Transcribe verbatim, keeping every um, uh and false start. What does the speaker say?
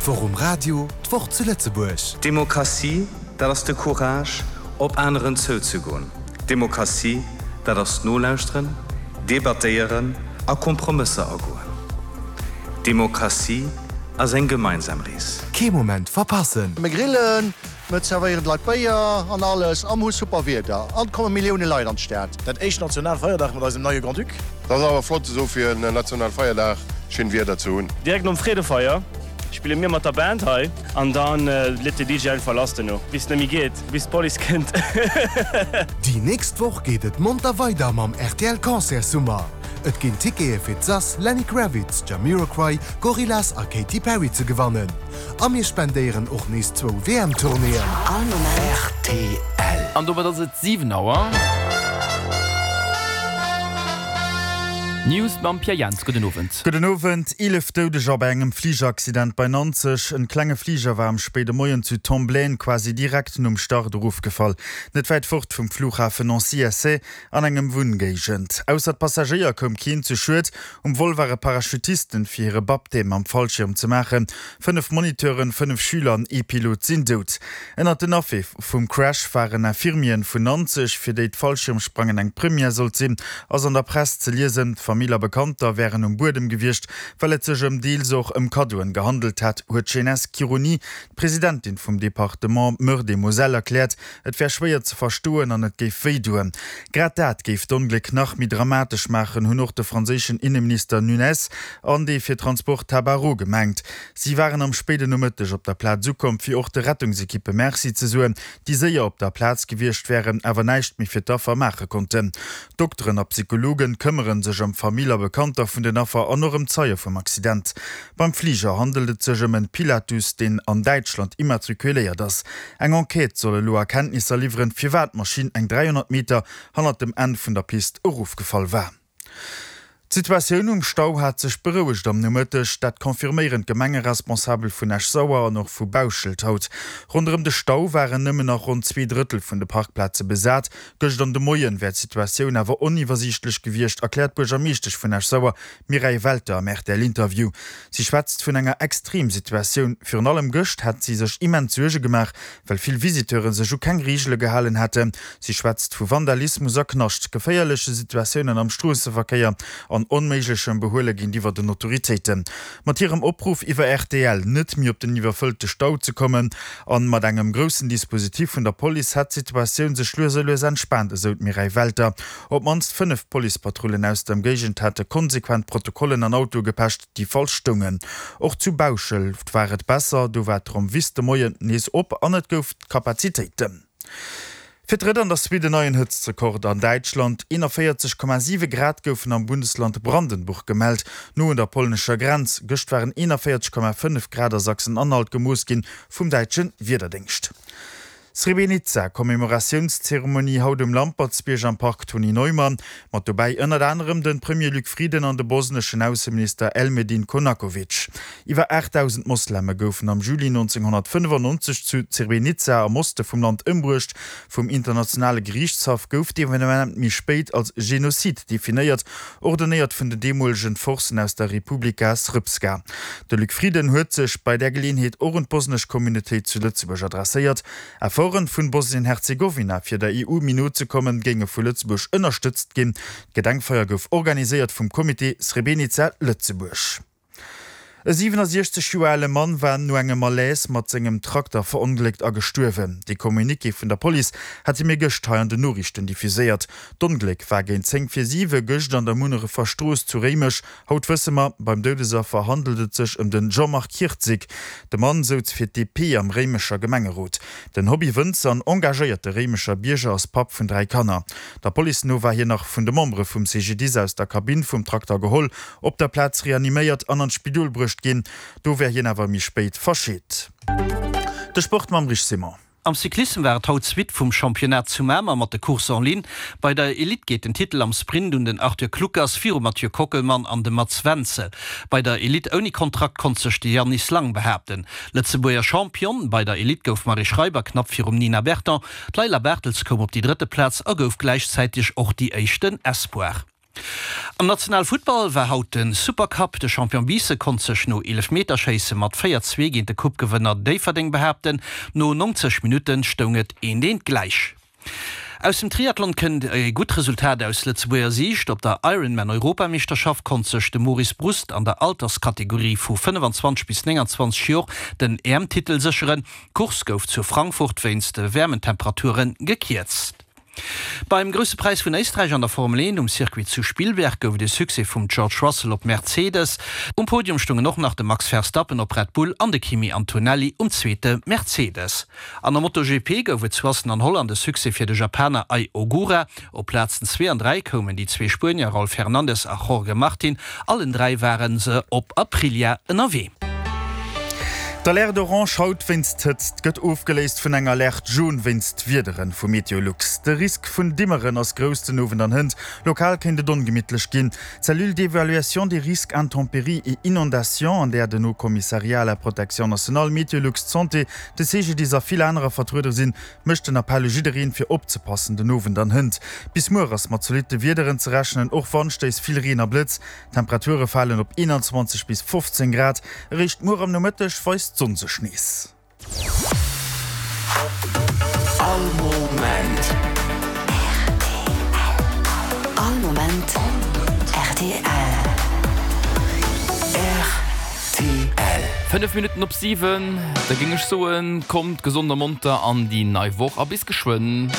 D'Woch um Radio, d'Woch zu Lëtzebuerg. Demokratie, dat ass de Courage, op aneren zouzegoen. Demokratie, dat ass nolauschteren, debattéieren a Kompromësser agoen. Demokratie ass eng gemeinsam Rees. Kee Moment verpassen! Mir grillen, mir zerwéieren d'Leit Béier an alles a mir hu super Wieder an et komme Millioune Leit an d'Stad. Dat éischt Nationalfeierdag mat eisem neie Grand-Duc. Dat ass awer flott esou fir en Nationalfeierdag schéin Wieder ze hunn. Direkt nom Freedefeier spille mir mat der Band hei an dann leet de D J einfach lass duerno bis et net méi geet, bis d'Police kënnt. Déi nächst Woch geet et monter weider mam R T L Concertssummer. Et ginn Tickete fir d'Sass, Lenny Kravitz, Jamiroquai, Gorillaz a Katy Perry ze gewannen. A mir spendéieren och nees zwou W M-Tournéeën. All Moment. R T L. An domat ass et siwen Auer. News mam Pierre Jans. Gudden Owend. Gudden Owend. Eelef Doudeger bei engem Fligeraccident bei Nanzeg. En klenge Fliger war am spéide Moien zu Tomblaine quasi direkt nom Start erofgefall. Net wäit fort vum Flughafen Nancy-Essey an engem Wunngéigend. Ausser d'Passagéier koum keen zu Schued. Um Vol ware Parachutisten fir hire Baptême am Fallschierm ze maachen. Fënnef Moniteuren, fënnef Schüler an ee Pilot sinn dout. Ënnert den Affer vum Crash waren Infirmieren vun Nanzeg, fir déi d'Fallschiermsprangen eng Première sollt sinn, ass an der Press ze liesen. Famill a Bekannter wären um Buedem gewiescht, well et sech ëm deels och ëm Kaddoen gehandelt hätt, huet d'Genès Chironi, d'Presidentin vum Departement Meurthe-et-Moselle, erkläert. Et wär schwéier ze verstoen an et géif wéi doen. Grad dat géif d'Ongléck nach méi dramatesch maachen, hunn och de franséischen Inneminister Nunes an dee fir Transport Tabarot gemengt. Si waren am spéiden Nomëtteg op der Plaz ukomm, fir och de Rettungsekippe Merci ze soen, déi séier op der Plaz gewiescht wären, awer näischt méi fir d'Affer maache konnten. Dokteren a Psychologe këmmere sech ëm Famill a Bekannter vun den Affer an och ëm Zeie vum Accident. Beim Fliger handelt et sech ëm en Pilatus, deen an Däitschland immatrikuléiert ass. Eng Enquête soll elo Erkenntnisser liwweren, firwat d'Maschinn eng dräihonnert Meter hannert dem Enn vun der Pist erofgefall war. D'Situatioun um Stau hat sech berouegt am Nomëtteg, dat confirméieren d'Gemengeresponsabel vun Esch-Sauer an och vu Bauschelt haut. Ronderëm de Stau waren nëmmen nach ronn zwee Drëttel vun de Parkplaze besat. Gëscht an de Moien wär d'Situatioun awer oniwwersiichtlech gewiescht, erkläert d'Buergermeeschtesch vun Esch-Sauer Mireille Welter am R T L-Interview. Si schwätzt vun enger Extremsituatioun. Virun allem gëscht hätt si sech immens Suerge gemaach, well vill Visiteure sech u keng Reegele gehalen hätten. Si schwätzt vu Vandalismus a Knascht, geféierleche Situatiounen am Stroosseverkéier an onméiglechem Behuele géintiwwer den Autoritéiten. Mat hirem Opruff iwwer R T L, net méi op den iwwerfëllte Stau ze kommen an mat engem groussen Dispositif vun der Police hätt d'Situatioun sech lues a lues entspaant, esou d'Mireille Welter. Op d'mannst fënnef Policepatrullen aus der Ëmgéigend hätte konsequent Protokollen an Autoe gepecht, déi falsch stoungen. Och zu Bauschelt war et besser, do war d'Rommwiss de Moien nees op an et gouf Kapazitéiten. Fir d'drëtt an der Suite en neien Hëtztrekord an Däitschland, eenanvéierzeg Komma siwe Grad goufen am Bundesland Brandenburg gemellt, no un der polnescher Grenz. Gëscht waren eenanvéierzeg Komma fënnef Grad a Sachsen-Anhalt gemooss ginn vum däitsche Wiederdéngscht. Srebrenica, Commémoratiounszeremonie haut um Lampertsbierg am Park Tony Neumann, mat dobäi ënnert anerem de Premier Luc Frieden an de bosneschen Ausseminister Elmedin Konakovic. Iwwer aachtdausend Mosleme goufen am Juli nonzénghonnertfënnefannonzeg zu Srebrenica am Oste vum Land ëmbruecht. Vum internationale Geriichtshaff gouf d'Evenement méi spéit als Genozid definéiert, ordonéiert vun den deemolegen Forcen aus der Republika Srpska. De Luc Frieden huet sech bei där Geleeënheet och un d'bosnesch Communautéit zu Lëtzebuerg adresséiert. Efforte vun Bosnien-Herzegowina fir der E U méi no ze kommen, géinge vu Lëtzebuerg ënnerstëtzt ginn. D'Gedenkfeier gouf organiséiert vum Comité Srebrenica Lëtzebuerg. E siwenasiechzeg Joer ale Mann war no engem Malaise mat sengem Trakter verongléckt a gestuerwen. De Communiqué vun der Police hate mir gëscht hei an den Noriichten diffuséiert. D'Ongléck war géint zéng vir siwe gëscht an der Munnerefer Strooss zu Réimech. Haut wësse mer, beim Doudesaffer handelt et sech ëm den Jean-Marc Hirtzig. De Mann souz fir d'D P am Réimecher Gemengerot. Den Hobby-Wënzer an engagéierte Réimecher Bierger ass Papp vun dräi Kanner. Der Police no war hien nach vun de Membere vum C G D I S aus der Kabinn vum Trakter geholl, op der Plaz reaniméiert an an d'Spidol bruecht ginn. Do wär hien awer méi spéit verscheet. De Sport mam Rich Simon. Am Cyclissem war et haut d'Suite vum Championnat zu Mamer mat de Courses en ligne. Bei der Elite geet den Titel am Sprint un den Arthur Kluckers virum Mathieu Kockelmann an dem Mats Wenzel. Bei der Elite ouni Kontrakt konnt sech de Yannis Lang behaapten. Lëtzebuerger Champion bei der Elite gouf d'Marie Schreiber knapp virum Nina Berton. D'Leila Bartels koum op déi drëtte Plaz a gouf gläichzäiteg och déi éischten Espoir. Am National Futtball war haut de Supercup. De Champion Biissen konnt sech no Eelefmeterschéisse mat véier, zwee géint de Coupe-Gewënner Déifferdeng behaapten. No nonzeg Minutte stoung et eent, eent gläich. Aus dem Triathlon kënnt e gutt Resultat aus Lëtzebuerger Siicht. Op der Ironman-Europameeschterschaft konnt sech de Maurice Brust an der Alterskategorie vu fënnefenzwanzeg bis nénganzwanzeg Jor den E M-Titel sécheren. D'Course gouf zu Frankfurt wéinst de waarmen Temperature gekierzt. Beim Grousse Präis vun Éisträich an der Formel eent um Circuit zu Spielberg gouf et e Succès vum George Russell op Mercedes. Um Podium stoungen och nach de Max Verstappen op Red Bull an de Kimi Antonelli um zweete Mercedes. An der MotoGP gouf et zu Assen an Holland e Succès fir de Japaner Ai Ogura. Op Plazen zwee an dräi koumen déi zwee Spuenier Raul Fernandez a Jorge Martin. Allen dräi ware se op Aprilia ënnerwee. D'Alerte orange haut wéinst Hëtzt gëtt ofgeléist vun enger Alerte jaune wéinst Wiederen vu Meteolux. De Risk vun Dimmeren ass grouss den Owend an hënt. Lokal kéint et ongemittlech ginn. D'Cellule d'évaluation des risques intempéries et inondations, an där den Haut Commissariat à la protection nationale, Meteolux, d'Santé, de C G D I S a vill anerer vertruede sinn, mécht den Appell u jiddereen, fir opzepassen den Owend an hënt. Bis muer ass mat zolitte Wiederen ze rechnen, och Wandstéiss, vill Reen a Blëtz. D'Temperature falen op eenanzwanzeg bis fofzéng Grad. Eréischt muer am Nomëtteg weist d'Sonn sech nees. All Moment. All Moment R T L. R T L. Fënnef Minutten op siwen, da géing ech soen, kommt gesond a monter an déi nei Woch a bis geschwënn.